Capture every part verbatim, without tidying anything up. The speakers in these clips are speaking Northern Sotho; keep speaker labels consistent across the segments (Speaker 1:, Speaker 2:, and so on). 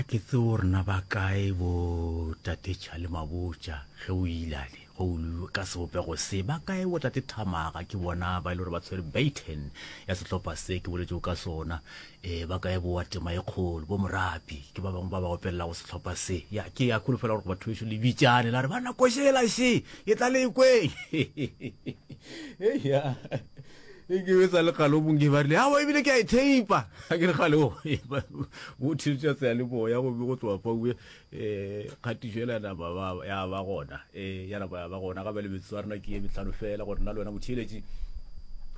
Speaker 1: A ke tsebe gore na ba kae bo tate Charlie Mabotja ge o ile ale go o ka sebopego se ba kae bo tate Thamaga ke bona ba e le gore ba tshwere baton ya sehlopha se ke boletšego ka sona um ba kae bo wa tema e kgolo bo Morapi ke ba bangwe ba ba opelelago sehlopha se ya ke ya kholofela gore batho bešo le bitšane la re bana košela še e tla le kweng ya e ke be sa le kgale o mongwe ba rile awa ebile ke a e theipa ga ke re kgale o theetša seyalemoya gomme go tloga faue um kgatišo ela nama ya ba gona um ya napa ya ba gona gape le metsotso ya rena ke ye metlhano fela gore nna le wena motheeletši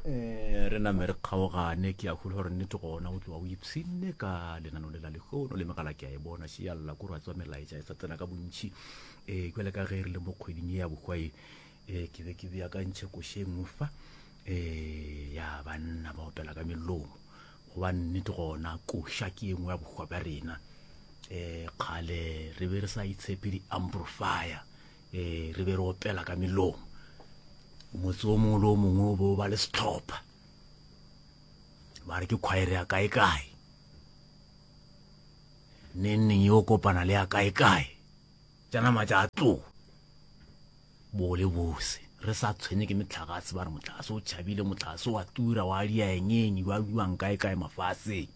Speaker 1: um re name re kgaogane ke a kgolo gore nnete gona o tloga o ipshinne ka lenano le la lehono le megala ke a e bona šialla ko re a tswa melaetša e sa tsena ka bontšhi um jale ka ge re le mo kgweding ye ya bohwae um ke be ke beakantšhe koše e nngwe fa um ya banna ba opela ka melomo goba nnete gona koša ke ye nngwe ya bohwa bja rena um kgale re be re sa itshepe di-amplifier um re be re opela ka melomo motse o mongwe le o mongwe o be o ba le sehlopha ba re ke khwaere ya kae kae neng neng yo kopana le ya kae kae tša nama tša tloga bo le bose re sa tshwenye ke metlhagase ba re motlhagase o tšhabile motlhagase wa tura wa diaengeng wa buang kae kae mafaseng.